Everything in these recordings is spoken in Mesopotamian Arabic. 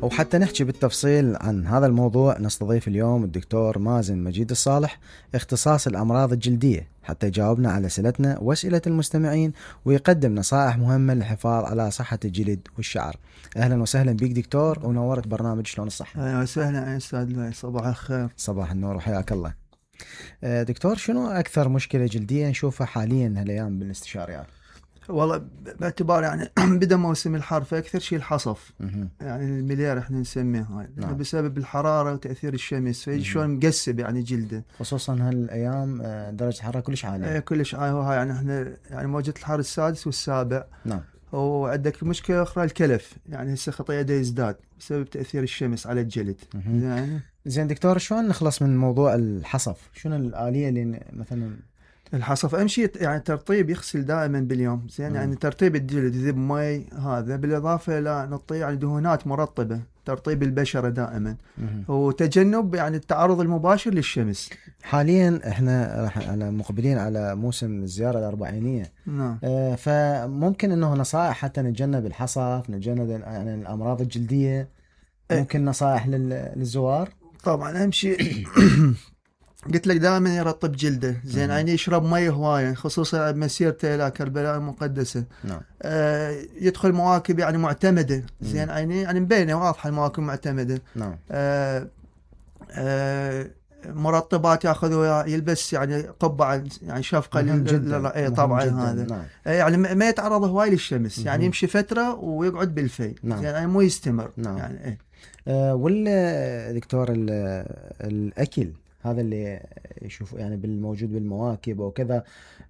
وحتى نحكي بالتفصيل عن هذا الموضوع نستضيف اليوم الدكتور مازن مجيد الصالح، اختصاص الأمراض الجلدية، حتى يجاوبنا على أسئلتنا وأسئلة المستمعين ويقدم نصائح مهمة للحفاظ على صحة الجلد والشعر. أهلا وسهلا بك دكتور، ونورت برنامج شلون الصحة. أهلا وسهلا أستاذ، صباح الخير. صباح النور وحياك الله. دكتور، شنو أكثر مشكلة جلدية نشوفها حاليا هالأيام بالاستشاريات؟ والله باعتبار يعني بدأ موسم الحر، فأكثر شيء الحصف، يعني المليار احنا نسميه هاي، نعم. بسبب الحرارة وتأثير الشمس، فيجي شلون مقسب يعني جلده، خصوصا هالأيام درجة الحرارة كلش عالية. كلش عالية. هاي يعني احنا يعني موجة الحر السادس والسابع. نعم. وعندك مشكلة أخرى الكلف، يعني هسه خطية دا يزداد بسبب تأثير الشمس على الجلد. يعني زين دكتور، شلون نخلص من موضوع الحصف؟ شنو الآلية اللي مثلا الحصف؟ امشي يعني ترطيب، يغسل دائما باليوم، زين يعني ترطيب الجلد، ذب مي، هذا بالاضافه الى نعطيه يعني دهونات مرطبه، ترطيب البشره دائما، وتجنب يعني التعرض المباشر للشمس. حاليا احنا على مقبلين على موسم الزياره الاربعينيه. نعم. فممكن انه نصائح حتى نتجنب الحصف، نتجنب يعني الامراض الجلديه، ممكن نصائح للزوار؟ طبعا امشي قلت لك دائما يرطب جلده، زين يعني يشرب مي هوايه، خصوصا بمسيرته الى كربلاء المقدسه. نعم. يدخل مواكب يعني معتمده، زين يعني مبينه واضحه المواكب معتمده. نعم. مرطبات ياخذ، يلبس يعني قبعه يعني شفقه طبعا هذا. نعم. يعني ما يتعرض هواي للشمس، يعني يمشي فتره ويقعد بالفي. نعم. يعني مو يستمر. نعم. يعني ولا دكتور الاكل هذا اللي يشوف يعني بالموجود بالمواكب وكذا،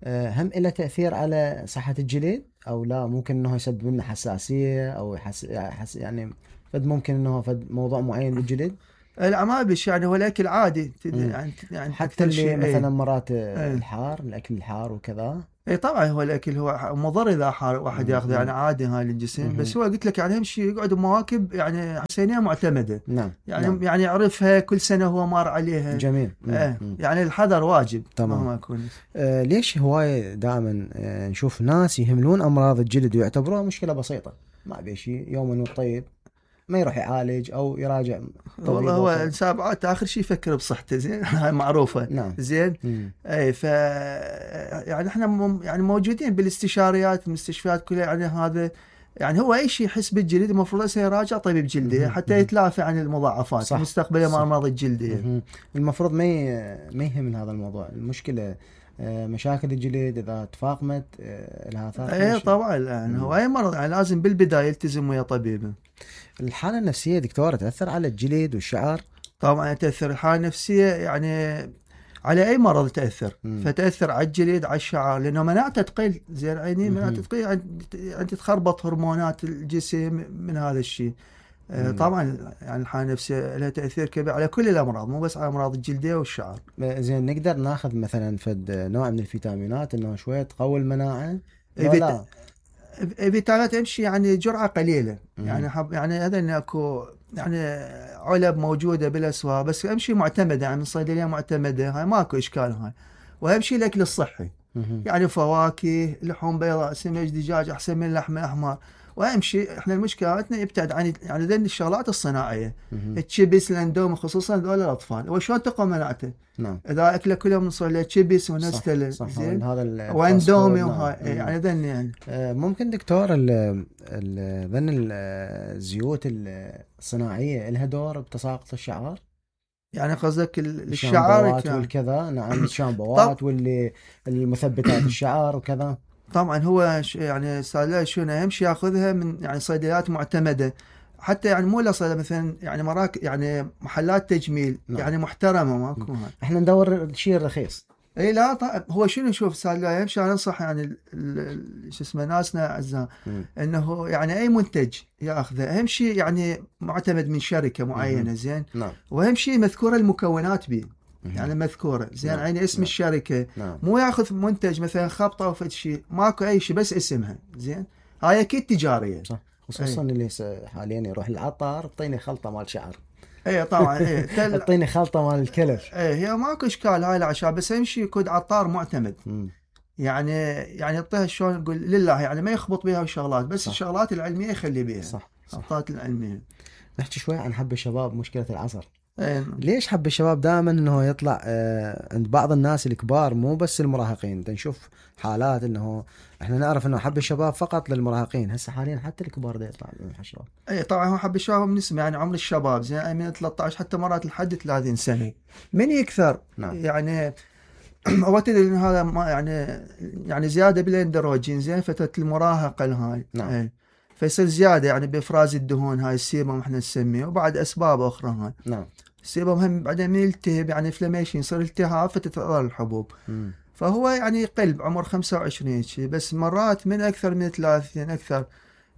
هم له تأثير على صحة الجلد أو لا؟ ممكن إنه يسبب لنا حساسية أو يعني فد ممكن إنه فد موضوع معين بالجلد؟ لا ما بيش، يعني هو الأكل عادي يعني حتى اللي مثلا مرات الحار، الأكل الحار وكذا. اي طبعا هو الاكل هو مضر اذا حار واحد ياخذه، يعني عادي هاي للجسم. بس هو قلت لك يعني يمشي يقعد بمواكب يعني حسينيه معتمده. نعم. يعني نعم. يعني يعرفها كل سنه هو مار عليها. جميل. يعني الحذر واجب. تمام. ما يكون ليش هواي دائما نشوف ناس يهملون امراض الجلد ويعتبروها مشكله بسيطه، ما بيشي يوم والطيب ما يروح يعالج او يراجع والله هو السابعات اخر شيء يفكر بصحته، زين هاي معروفه. نعم. زين. اي يعني احنا يعني موجودين بالاستشاريات المستشفيات كلها، يعني هذا يعني هو اي شيء يحس بالجلد المفروض يراجع طبيب جلدي حتى يتلافى عن المضاعفات المستقبليه مع الامراض الجلديه. المفروض ما يهم من هذا الموضوع. المشكله مشاكل الجلد اذا تفاقمت لها اثار. اي طبعا يعني هو اي مرض يعني لازم بالبدايه يلتزم ويا طبيبه. الحالة النفسية دكتور تأثر على الجلد والشعر؟ طبعا تأثر الحالة النفسية يعني على أي مرض تأثر. فتأثر على الجلد على الشعر، لأنه مناعته تقل، زين عيني مناعته تقل، يعني تتخربط هرمونات الجسم من هذا الشيء. طبعا يعني الحالة النفسية لها تأثير كبير على كل الأمراض، مو بس على أمراض الجلدية والشعر. زين نقدر ناخذ مثلا فد نوع من الفيتامينات إنه شوية تقوي المناعة؟ فيتامينات امشي يعني جرعه قليله. يعني هذا انه اكو يعني علب موجوده بالاسواق، بس امشي معتمده يعني من صيدليه معتمده، هاي ماكو اشكال هاي. واهم شيء الاكل الصحي، يعني فواكه، لحوم بيضاء، سمك، دجاج احسن من اللحم الاحمر. واهم شيء احنا مشكلتنا يبتعد عن يعني ذي الشغلات الصناعيه، التشيبس، الاندومي، خصوصا هذول الاطفال. وشلون تقوى مناعته؟ نعم. اذا اكله كلهم نصير له تشيبس ونستله، زين هذا واندومي وهاي. يعني ذن يعني ممكن دكتور ذن الزيوت الصناعيه لها دور بتساقط الشعر؟ يعني قصدك الشعر والكذا؟ نعم. الشامبوات واللي المثبتات الشعر وكذا. طبعا هو يعني صار شنو اهم شيء ياخذها من يعني صيدليات معتمده، حتى يعني مو لا مثلا يعني مراكز يعني محلات تجميل. نعم. يعني محترمه ماكو. احنا ندور الشيء الرخيص. اي لا طيب هو شنو نشوف صار اهم شيء انصح يعني شو اسمه ناسنا اعزاء انه يعني اي منتج ياخذه اهم شيء يعني معتمد من شركه معينه. زين. نعم. واهم شيء مذكوره المكونات به، يعني مذكوره. زين. نعم. يعني اسم. نعم. الشركه. نعم. مو ياخذ منتج مثلا خبطه او فد شيء ماكو اي شيء بس اسمها. زين. هاي اكيد تجاريه. صح. خصوصا اللي حاليا يروح العطار اعطيني خلطه مال شعر. اي طبعا. اي اعطيني خلطه مال الكلف. اي هي ماكو اشكال هاي العشاء، بس اهم شيء يكون عطار معتمد. يعني يعطيها شلون نقول لله، يعني ما يخبط بها الشغلات، بس صح. الشغلات العلميه يخلي بها. صح. الشغلات العلميه. نحكي شوي عن حب الشباب، مشكلة العصر. إيه. ليش حب الشباب دائما انه يطلع عند بعض الناس الكبار، مو بس المراهقين؟ نشوف حالات انه احنا نعرف انه حب الشباب فقط للمراهقين، هسه حاليا حتى الكبار دا يطلع من الشباب. اي طبعا هو حب الشباب من اسمه يعني عمر الشباب زين من 13 حتى مرات لحد 30 سنه من يكثر. نعم. يعني هو تدري ان هذا ما يعني زياده بالاندروجين زين فتره المراهقه الهاي. نعم. اي فيصير زياده يعني بافراز الدهون هاي السيبم احنا نسميه، وبعد اسباب اخرى هاي. نعم. السيبم هم بعدين من يلتهب يعني انفلاميشن يصير التهاب فتتضرر الحبوب. فهو يعني يقل بعمر 25 شيء، بس مرات من اكثر من 30 اكثر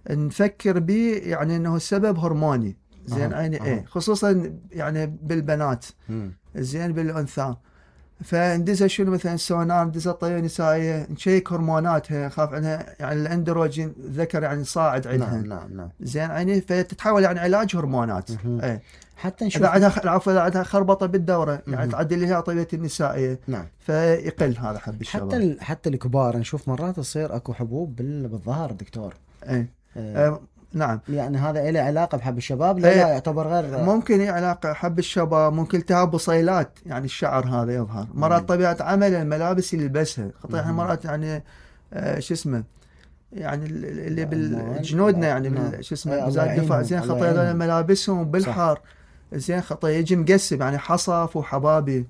نفكر به يعني انه السبب هرموني زين. ايه خصوصا يعني بالبنات زين بالانثى. فندزها شنو مثلا سونار، ندزها طريقه نسائيه نشيك هرموناتها، خاف عنها يعني الاندروجين ذكر يعني صاعد عندها. نعم. زين يعني فتتحول يعني علاج هرمونات. ايه حتى نشوف اذا عندها خربطه بالدوره يعني تعدل لها طبيعه النسائيه. نعم. فيقل هذا حب الشباب. حتى الكبار نشوف مرات تصير اكو حبوب بالظهر دكتور. نعم. يعني هذا له علاقه بحب الشباب؟ لا يعتبر غير ممكن علاقه حب الشباب، ممكن التهاب بصيلات يعني الشعر هذا يظهر مرات طبيعه عمل الملابس اللي يلبسها خطير. احنا مرات يعني شو اسمه يعني اللي بالجنودنا يعني شو اسمه وزاره الدفاع زين خطير ملابسهم بالحر زين خطير يجي مقسم يعني حصف وحبابي.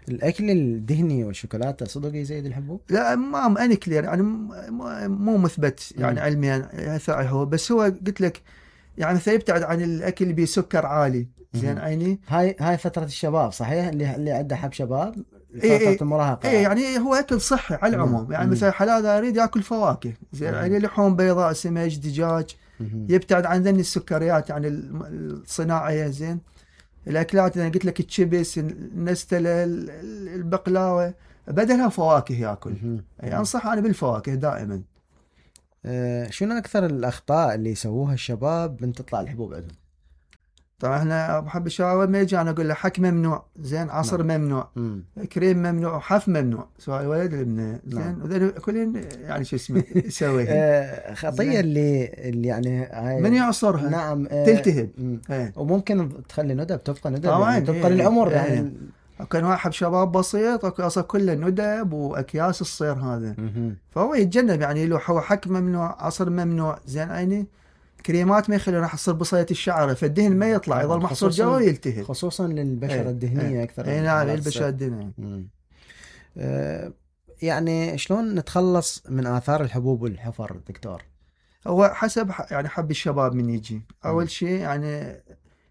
الاكل الدهني والشوكولاته صدق يزيد الحبوب؟ لا ما اني كلير يعني مو مثبت يعني علميا هو، بس هو قلت لك يعني سيبتعد عن الاكل اللي بسكر عالي زين عيني. هاي فتره الشباب صحيح، اللي عنده حب شباب فتره المراهقه. يعني هو اكل صحي على العموم. يعني مثلا حلاله يريد ياكل فواكه زين يعني لحوم بيضاء سمك دجاج. يبتعد عن ذني السكريات يعني الصناعيه زين. الاكلات انا قلت لك التشيبس النستله البقلاوه بدلها فواكه ياكل. يعني انصح انا بالفواكه دائما. شنو اكثر الاخطاء اللي يسووها الشباب من تطلع الحبوب عندهم؟ طبعا احنا بحب الشباب ما يجي انا اقول له حك ممنوع زين، عصر ممنوع، كريم ممنوع، حف ممنوع، سواء الولد الابن زين كلهم يعني شو اسمه يسويها. خطيه اللي يعني من يعصرها نعم تلتهب. وممكن تخلي ندب، تبقى ندب طبعا يعني تبقى للعمر يعني. كان واحد شباب بسيط اصلا كله ندب واكياس الصير هذا. فهو يتجنب يعني له هو حك ممنوع، عصر ممنوع زين عيني. كريمات ما يخلي راح تصير بصيلة الشعر فالدهن ما يطلع يظل محصور جوا ويلتهب، خصوصا للبشرة الدهنية اكثر. نعم للبشرة الدهنية. يعني شلون نتخلص من آثار الحبوب والحفر دكتور؟ هو حسب يعني حب الشباب من يجي اول شيء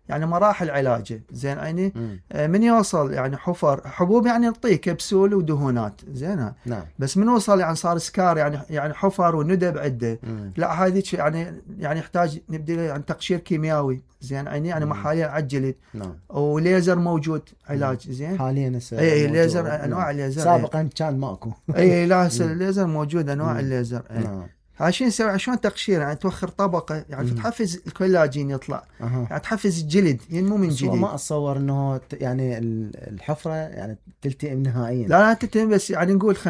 يعني مراحل علاجه زين عيني. من يوصل يعني حبوب يعني نعطيه كبسول ودهونات زين. نعم. بس من وصل يعني صار سكار يعني حفر وندب عده. لا هذه يعني يحتاج نبدي يعني تقشير كيميائي زين عيني يعني محاليل على الجلد. نعم. وليزر موجود علاج زين حاليا اي ليزر انواع الليزر. سابقا كان ماكو. اي لا الليزر موجود انواع الليزر. نعم. عشان نسوي عشان تقشير يعني توخر طبقه يعني تحفز الكولاجين يطلع. يعني تحفز الجلد ينمو من جديد. ما اتصور انه يعني الحفره يعني تلتئم نهائيا. لا تلتئم بس يعني نقول 50% 60%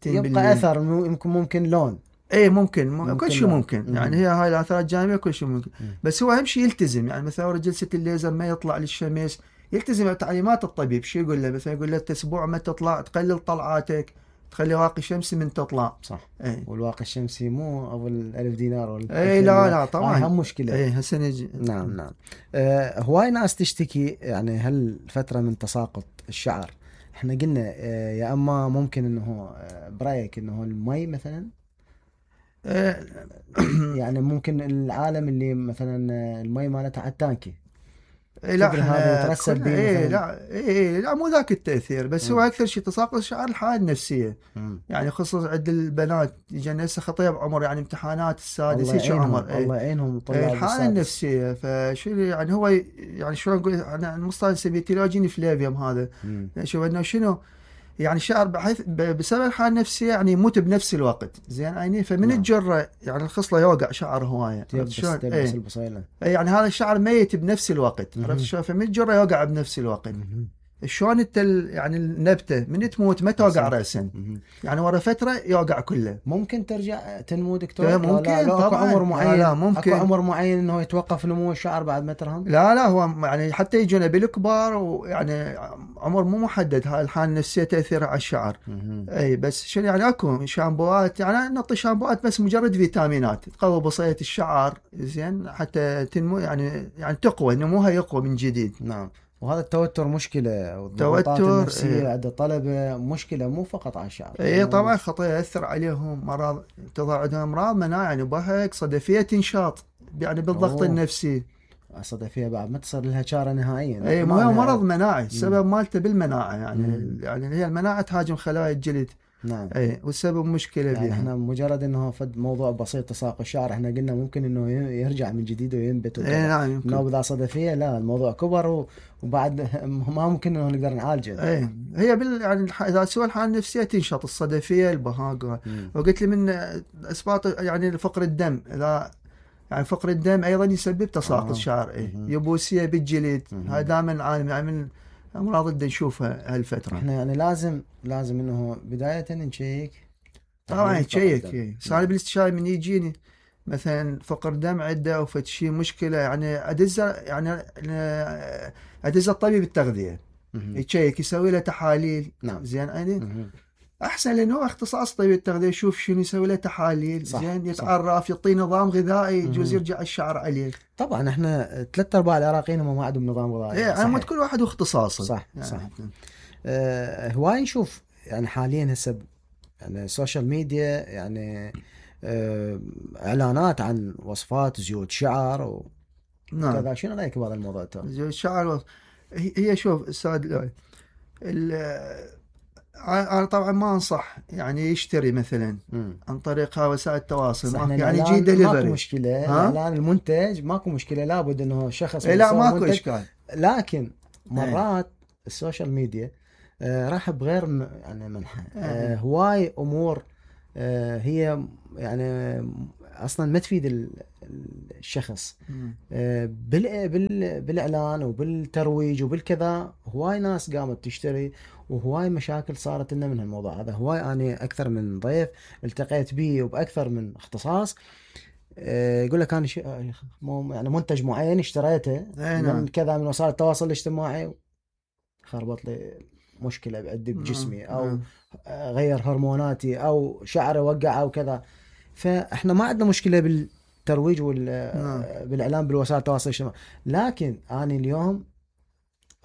يبقى اثر ممكن لون. اي ممكن كل شيء ممكن. يعني هي هاي الاثار الجانبيه كل شيء ممكن. بس هو اهم شيء يلتزم يعني مثلا جلسه الليزر ما يطلع للشمس، يلتزم بتعليمات الطبيب. شو يقول له مثلا يقول له اسبوع ما تطلع تقلل طلعاتك، تخلي واقي شمسي من تطلع. صح. والواقي الشمسي مو أو 1000 دينار ولا لا طبعا هم مشكلة. هسه نجي. نعم. هواي ناس تشتكي يعني هل فترة من تساقط الشعر. احنا قلنا يا اما ممكن انه برايك انه المي مثلا يعني ممكن العالم اللي مثلا المي مالتها على التانكي لا لا مو ذاك التأثير. بس هو أكثر شيء تساقط الشعر الحالة النفسية. يعني خصوصا عند البنات يجي هسه خطيب عمر يعني امتحانات السادس هيك عمر. الله يعينهم الحالة النفسية. فشو يعني هو يعني شو نقول أنا المصطلح نسميه تيلاجين فلافيوم هذا. شوف إنه شنو يعني الشعر بحيث بسبب الحالة النفسية يعني يموت بنفس الوقت زين عيني. فمن الجرة يعني الخصلة يوقع شعر هواية تلبس البصيلة. يعني هذا الشعر ميت بنفس الوقت عرفت شلون. فمن الجرة يوقع بنفس الوقت. شلون انت يعني النبته من تموت ما توقع راسا، يعني ورا فتره يوقع كله. ممكن ترجع تنمو دكتور؟ ممكن لا اكو طبعا. عمر معين؟ لا ممكن. اكو عمر معين انه يتوقف نمو الشعر بعد ما ترهم؟ لا هو يعني حتى يجونا بالكبار، ويعني عمر مو محدد. هاي الحالة النفسية تأثيرها على الشعر. اي بس شنو يعني اكو شامبوات، يعني نعطي شامبوات بس مجرد فيتامينات تقوي بصيلة الشعر زين حتى تنمو، يعني تقوى، نموها يقوى من جديد. نعم. وهذا التوتر مشكلة، والضغوطات النفسية عند الطلبة مشكلة مو فقط على الشعر. اي طبعا خطير، يأثر عليهم مرض، تظهر عندهم امراض مناعة، يعني بهك صدفية تنشاط يعني بالضغط النفسي. الصدفية بعد ما تصير لها شارة نهائيا. اي مو مرض مناعي، السبب مالته بالمناعة، يعني هي المناعة تهاجم خلايا الجلد. نعم. اي والسبب مشكلة يعني بيها. احنا مجرد انه فد موضوع بسيط تساقط الشعر، احنا قلنا ممكن انه يرجع من جديد وينبت وكذا. اي نعم. انه بذا صدفية لا، الموضوع كبر وبعد ما ممكن انه نقدر نعالجه. اي هي يعني اذا سوى الحالة النفسية تنشط الصدفية البهاقة. وقلت لي من اسباب يعني فقر الدم، اذا يعني فقر الدم ايضا يسبب تساقط الشعر. يبوسية بالجلد، هاي دائما نعاني يعني من امراض اللي نشوفها هالفترة. احنا يعني لازم انه بداية نشيك. طبعا تشيك. صار بالاستشاري من يجيني مثلا فقر دم عنده او فد شيء مشكله، يعني ادز الطبيب التغذيه يتشيك، يسوي له تحاليل. نعم. زين يعني احسن، لانه هو اختصاص طبيب التغذيه، يشوف شنو، يسوي له تحاليل. زين يتعرف، يعطيه نظام غذائي يجوز يرجع الشعر عليه. طبعا احنا 3/4 العراقيين هم ما عندهم نظام غذائي. يعني كل واحد واختصاصه. صح يعني صح. هواي نشوف يعني حاليا هسه يعني السوشيال ميديا يعني اعلانات عن وصفات زيوت شعر وكذا. نعم. شنو رايك بهذا الموضوع؟ زيوت شعر هي شوف استاذ، انا طبعا ما انصح يعني يشتري مثلا عن طريق وسائل التواصل، يعني يجي دليفري. ماكو مشكله اعلان المنتج، ماكو مشكله، لابد انه شخص لا ماكو اشكال. لكن مرات السوشيال ميديا راح بغير يعني منحى. هواي امور هي يعني اصلا ما تفيد الشخص. بالاعلان وبالترويج وبالكذا هواي ناس قامت تشتري، وهواي مشاكل صارت لنا من هالموضوع هذا. هواي انا اكثر من ضيف التقيت به وباكثر من اختصاص يقول لك انا يعني منتج معين اشتريته من كذا من وسائل التواصل الاجتماعي، خربط لي مشكلة عندي بجسمي، أو غير هرموناتي، أو شعري وقع أو كذا. فإحنا ما عندنا مشكلة بالترويج بالإعلام بالوسائل التواصل الاجتماعي، لكن أنا اليوم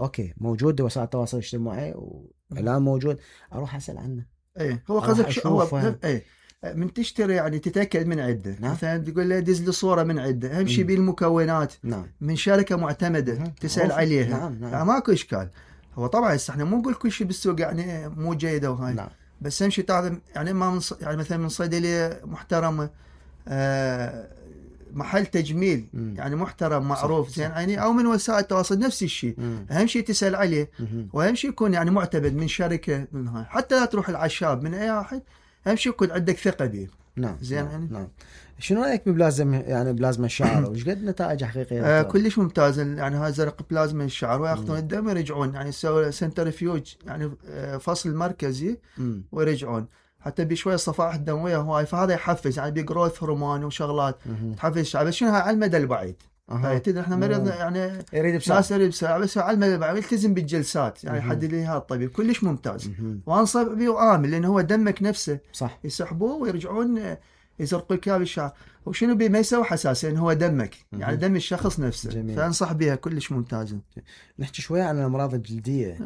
أوكي موجود وسائل التواصل الاجتماعي وإعلام موجود، أروح أسأل عنه. إيه هو قصدك هو إيه من تشتري يعني تتأكد من عدة. نعم. مثلا تقول له دز لي صورة من عدة، أهم شيء بالمكونات. نعم. من شركة معتمدة تسأل عليها. نعم. يعني ماكو إشكال. هو طبعا احنا مو نقول كل شيء بالسوق يعني مو جيده وهاي. نعم. بس اهم شيء تعرف يعني ما يعني مثلا من صيدليه محترمه، محل تجميل يعني محترم معروف زين يعني، او من وسائل التواصل نفس الشيء. اهم شيء تسال عليه، واهم شيء يكون يعني معتمد من شركه من هاي، حتى لا تروح العشاب من اي واحد، اهم شيء يكون عندك ثقه به. نعم. زين نعم. يعني. نعم. شنو رايك ببلازما الشعر؟ وش قد نتائج حقيقيه؟ كلش ممتاز. يعني هاي زرق بلازما الشعر، وياخذون الدم ويرجعون، يعني يسوي سنترفيوج يعني فصل مركزي ويرجعون، حتى بشويه الصفائح الدمويه هواي، فهذا يحفز يعني بجروث هرمون وشغلات تحفز الشعر. بس شنو هاي على المدى البعيد. تدري احنا مريض يعني يريد بسرعه، بس على المدى البعيد يلتزم بالجلسات يعني يحدد لي هذا الطبيب كلش ممتاز. وانصح به وامن، لانه هو دمك نفسه صح يسحبوه ويرجعون يزرقوا الكاب الشعر. وشنو بيه ما يسوي حساسية، لأنه هو دمك يعني دم الشخص نفسه. جميل. فأنصح بها كلش ممتازة. نحكي شوية عن الأمراض الجلدية.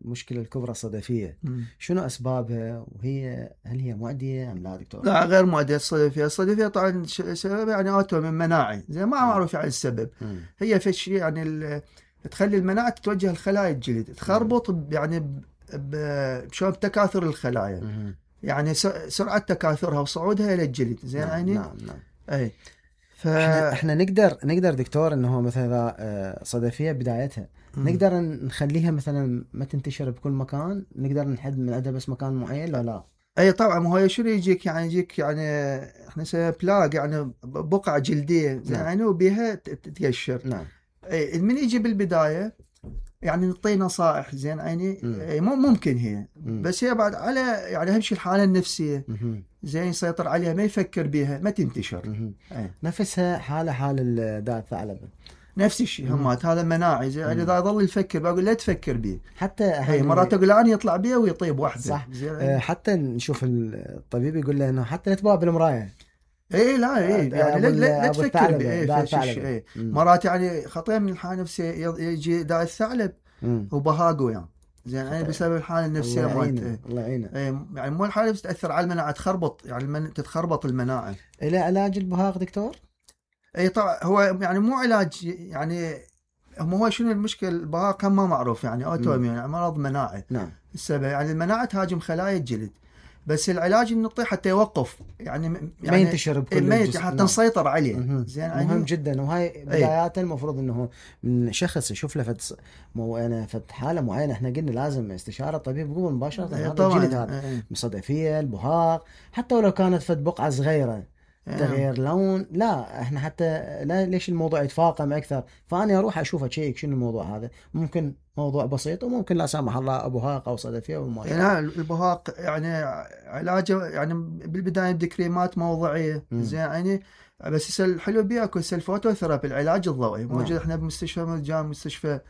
والمشكلة الكبرى الصدفية. شنو أسبابها؟ وهي هل هي معدية أم لا دكتور؟ لا غير معدية. الصدفية طبعا سببها يعني أوتومين مناعي، زي ما معروف يعني السبب. هي في شيء يعني تخلي المناعة تتوجه لخلايا الجلد، تخربط يعني بشلون بتكاثر الخلايا. يعني سرعة تكاثرها وصعودها إلى الجلد. زين يعني. نعم. أي. احنا نقدر دكتور انه مثلا صدفية بدايتها نقدر نخليها مثلا ما تنتشر بكل مكان، نقدر نحد من عندها بس مكان معين لا؟ اي طبعا. ما هو شنو يجيك يعني احنا نسميها بلاغ، يعني بقعة جلدية. زين يعني وبيها تقشر. نعم. اي من يجي بالبداية يعني نعطيه نصائح زين عيني مم. ممكن هي مم. بس هي بعد على يعني اهم شيء الحاله النفسيه مهم. زين يسيطر عليها، ما يفكر بها، ما تنتشر. مهم. أي. نفسها حال داء الثعلبة. نفس الشيء مم. همات هذا مناعي زين يعني اذا ظل يفكر بقول لا تفكر به. حتى اي مرات اقول انا يطلع بيه ويطيب واحده. صح. زين حتى نشوف الطبيب يقول له انه حتى لا تباع بالمرايه. اي لا اي يعني لا أبو تفكر الثعلبة، به. داء اي الثعلبة. اي مرات يعني خطير من الحاله النفسيه يجي داء الثعلب مم. وبهاقه يعني زين يعني بسبب الحاله النفسيه الله مالته. يعينه الله يعينه. يعني مو الحاله بس تاثر على المناعه، تخربط يعني تتخربط المناعه. الى علاج البهاق دكتور؟ اي طبعا هو يعني مو علاج يعني هو شنو المشكله البهاق ما معروف يعني اوتوميون يعني مرض مناعي. نعم. السبب يعني المناعه تهاجم خلايا الجلد، بس العلاج نعطيه حتى يوقف يعني ما ينتشر بكل الجسم حتى نعم. نسيطر عليه. زين مهم جدا. وهاي بدايات المفروض انه من شخص يشوف له فت حاله معينه احنا قلنا لازم استشاره طبيب قبل مباشره. هذا الجلد هذا مصدفيه البهاق حتى ولو كانت فت بقعه صغيره تغيير لون، لا احنا حتى لا ليش الموضوع يتفاقم اكثر، فانا اروح اشوف اشيك شنو الموضوع هذا. ممكن موضوع بسيط وممكن لا سامح الله ابهاق او صدفيه وما يعني البهاق يعني علاجه يعني بالبدايه بكريمات موضعيه زين يعني بس الحلو بيه اكو الفوتوثيرابي العلاج الضوئي موجود. نعم. احنا بمستشفى مجان مستشفى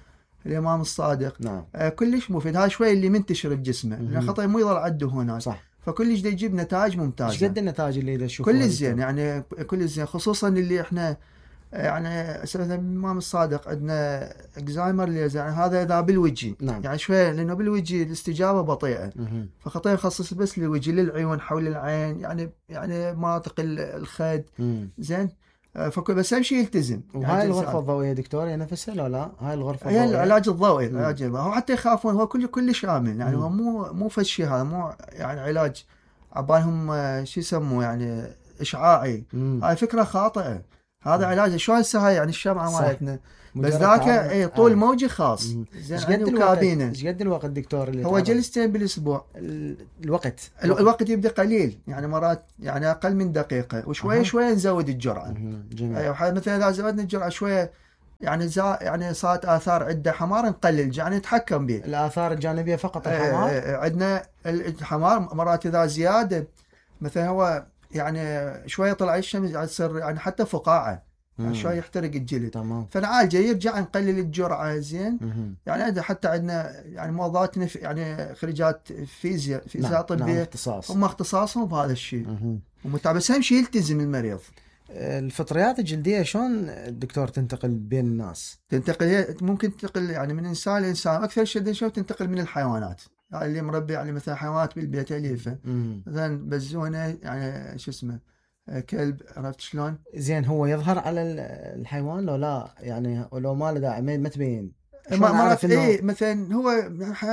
الامام الصادق. نعم. كلش مفيد. هذا شوي اللي منتشر بجسمه يعني خطأ مو يظل عنده هنا. صح. فكلش دا يجيب نتائج ممتازه. ايش قد النتائج اللي تشوفها؟ كل زين يعني كل زين خصوصا اللي احنا يعني مثلا الامام الصادق عندنا اكزايمر اللي يعني هذا اذا بالوجه. نعم. يعني شويه لانه بالوجه الاستجابه بطيئه. فخطير نخصص بس للوجه للعيون حول العين يعني مناطق الخد. زين بس اهم شيء يلتزم. وهاي يعني الغرفه الضوئيه دكتور هي نفسها لو لا هاي الغرفه هي العلاج الضوئي. العلاج الضوئي هو حتى يخافون هو كل شامل يعني هو مو فشي هذا مو يعني علاج عبالهم شو يسموه يعني اشعاعي. هاي فكره خاطئه. هذا علاج شلون هسه هاي يعني الشمعه مالتنا بس ذاك طول موجي خاص. زين ايش قد الوقت دكتور اللي هو جلستين بالاسبوع. الوقت يبدا قليل يعني مرات يعني اقل من دقيقه وشويه شويه نزود الجرعه. ايوه مثلا اذا زودنا الجرعه شويه يعني صارت اثار عده حمار نقلل يعني نتحكم به. الاثار الجانبيه فقط الحمار. عندنا الحمار مرات اذا زياده مثلا هو يعني شويه طلع الشمس تصير يعني حتى فقاعه يعني شويه يحترق الجلد. تمام. فنعالجه يرجع نقلل الجرعه زين. يعني حتى عندنا يعني موظفاتنا يعني خريجات فيزياء طبيه هم اختصاصهم بهذا الشيء بس اهم شيء يلتزم المريض. الفطريات الجلديه شلون الدكتور تنتقل بين الناس؟ تنتقل ممكن تنتقل يعني من انسان لانسان. اكثر شيء شو تنتقل من الحيوانات يعني اللي مربي يعني مثلا حيوانات بالبيت اليفه مثلا بزونه يعني شو اسمه كلب عرفت شلون. زين هو يظهر على الحيوان لو لا يعني ولو ما له داعي ما تبين مرات مثلا هو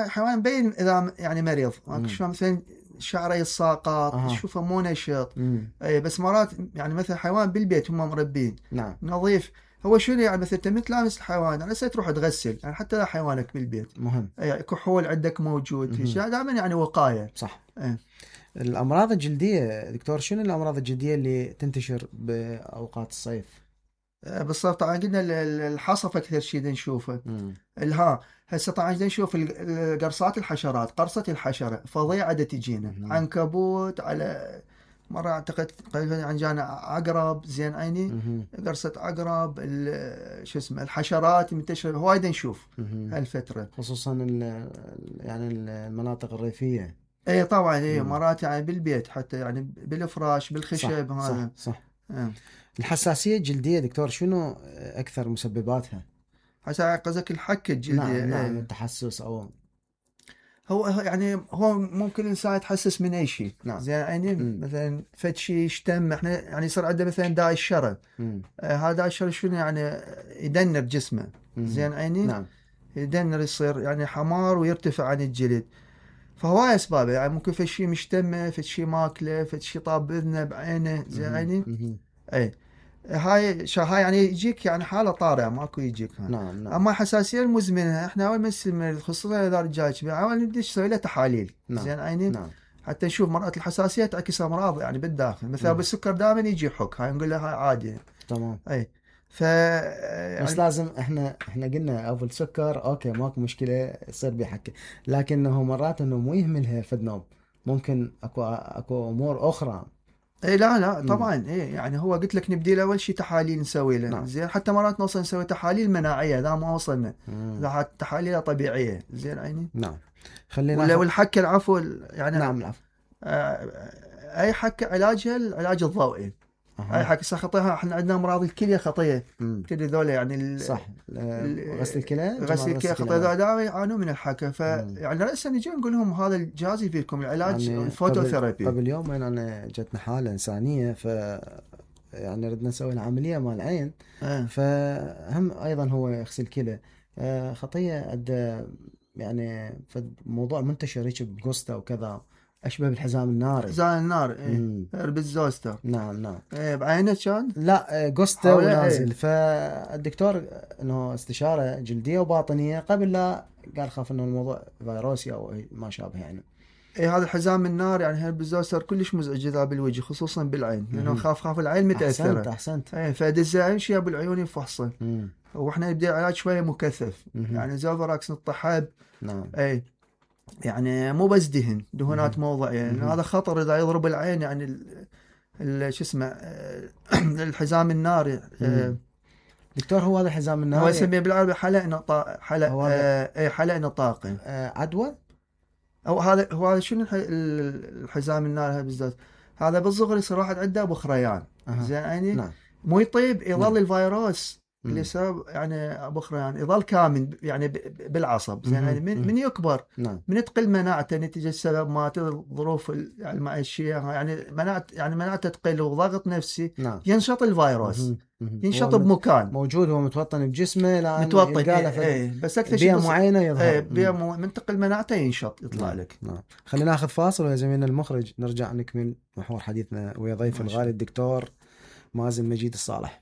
حيوان مبين اذا يعني مريض شلون مثلا شعره يتساقط تشوفه مو نشط. بس مرات يعني مثلا حيوان بالبيت هم مربين. نعم. نظيف هو شنو يعني مثلا انت تلامس الحيوان يعني تروح تغسل يعني حتى لا حيوانك بالبيت مهم. كحول عندك موجود دائما يعني وقايه. صح. الامراض الجلديه دكتور شنو الامراض الجلديه اللي تنتشر باوقات الصيف؟ بالضبط. طبعا قلنا الحصف اكثر شيء نشوفه. هسه طبعا نشوف قرصات الحشرات. قرصه الحشره فظيعه تجينا عنكبوت على مرة اعتقد عن جانا عقرب زين عيني قرصة عقرب شو اسمه الحشرات منتشرة هوايد نشوف هالفترة خصوصا يعني المناطق الريفية. اي طبعا مرات يعني بالبيت حتى يعني بالفراش بالخشب. صح. هذا صح. الحساسية الجلدية دكتور شنو اكثر مسبباتها؟ قصدك الحكة الجلدية. نعم. التحسس او هو يعني هو ممكن الانسان يتحسس من اي شيء. نعم. زين عيني مثلا فد شيء يشتم احنا يعني يصير عنده مثلا داء الشرى. هذا داء الشرى شنو يعني يدنر جسمه. زين عيني. نعم. يدنر يصير يعني حمار ويرتفع عن الجلد. فهواي اسبابه يعني ممكن فد شيء مشتمه فد شيء ماكله فد شيء طاب باذنه بعينه. زين عيني. اي هاي يعني يجيك يعني حاله طارئه ماكو يجيك. نعم. اما حساسيه المزمنه احنا اول ما يصير خصوصا اذا رجال كبير اول نبدا نسوي له تحاليل. زين عيني. نعم. حتى نشوف مرات الحساسيه تعكس امراض يعني بالداخل مثلا بالسكر دائما يجي حك هاي نقول له هاي عادي. تمام. اي ف يعني بس لازم احنا قلنا اول سكر اوكي ماكو مشكله يصير بيحكي، لكنه مرات انه مو يهملها فد نوم، ممكن اكو امور اخرى. اي لا مم. طبعا يعني هو قلت لك نبدي له اول شيء تحاليل نسوي له. نعم. زين حتى مرات نوصل نسوي تحاليل مناعيه اذا ما وصلنا، مم. اذا تحاليل طبيعيه. زين عيني. نعم. خلينا ولا والحكه العفو يعني نعم العفو. اي حكه علاجها العلاج الضوئي. اي حكه خطيها. احنا عندنا امراض الكليه خطيه. كل ذولا يعني صح. غسل الكلى، غسل الكلى خطيه ذولا يعانوا من الحكه. فيعني رأسا نجي نقول لهم هذا الجهاز يفيدكم العلاج يعني الفوتوثيرابي. قبل يومين انا جتنا حاله انسانيه، ف يعني ردنا نسوي العمليه مال العين. فهم ايضا هو يغسل كلى. خطيه ادى يعني موضوع منتشر هيك بجوستا وكذا، اشبه بالحزام الناري. حزام النار بالزوستر. نعم. بعينه كان؟ لا جوستا ونازل. فالدكتور انه استشاره جلديه وباطنيه قبل لا قال خاف انه الموضوع فيروسي او ما شابه يعني. هذا الحزام النار يعني بالزوستر كلش مزعج اذا بالوجه خصوصا بالعين، لانه خاف العين متاثره. احسنت. فدزه امشي بالعيون يفحصه. واحنا نبدا علاج شويه مكثف. يعني زوفراكس نطحب. نعم. يعني مو بس دهونات موضعيه يعني هذا خطر اذا يضرب العين. يعني شو اسمه الحزام الناري. دكتور هو هذا الحزام الناري هو يسميه بالعربي حلق نطاقي. عدوى. او هذا شنو الحزام الناري هذا بالذات؟ هذا بالصغر يصير واحد عنده بخريان. زين يعني نعم. مو يطيب يظل الفيروس اللي سبب يعني بخريان يظل كامن يعني بالعصب. زين يعني من يكبر من تقل مناعته نتيجه السبب ما الظروف يعني المعيشيه يعني مناعته تقل وضغط نفسي. ينشط الفيروس. ينشط بمكان موجود، هو متوطن بجسمه، لا متوطن. بس اكثر شيء بيئه معينه يظهر. من تقل مناعته ينشط يطلع لك. خلينا ناخذ فاصل ويا زميلنا المخرج نرجع نكمل محور حديثنا ويا ضيف الغالي الدكتور مازن مجيد الصالح.